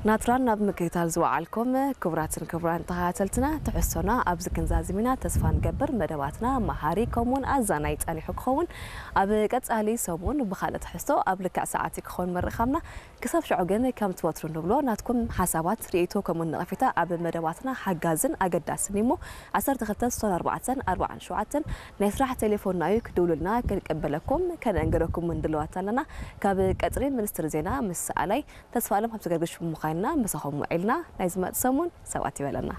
ናትራን ናብ ምክትታል ዝወዓልኩም ክቡራትን ክቡራን ተኸታተልትና፣ ትሕዝቶና ኣብዚ ክንዛዝም ኢና። ተስፋ ንገብር መደባትና መሃሪ ከምኡውን ኣዛናይ ጸኒሑ ክኸውን። ኣብ ቀጻሊ ሰሙን ብኻልእ ትሕዝቶ ኣብ ልክዕ ሰዓት ክኸውን ምርኻብና። ክሳብ ሽዑ ግን ከምቲ ወትሩ ንብሎ፣ ናትኩም ሓሳባት፣ ርእይቶ ከምኡውን ነቐፌታ ኣብ መደባትና ሓጋዝን ኣገዳስን እዩ እሞ፣ ዓሰርተ ክልተ ስሳን ኣርባዕተን ኣርባዓን ሸውዓተን ናይ ስራሕ ቴሌፎንና እዩ። ክድውሉልና ክንቅበለኩም ከነእንግደኩም እውን ድልዋት ኣለና። ካብ ቀጽሪ ሚኒስትሪ ዜና ምስ ሰኣላይ ተስፋ ኣለም ሃብተገርግሽ ብምዃንና ምሳኹም ውዒልና። ናይ ዝመጽእ ሰሙን ሰብኣት ይበለና።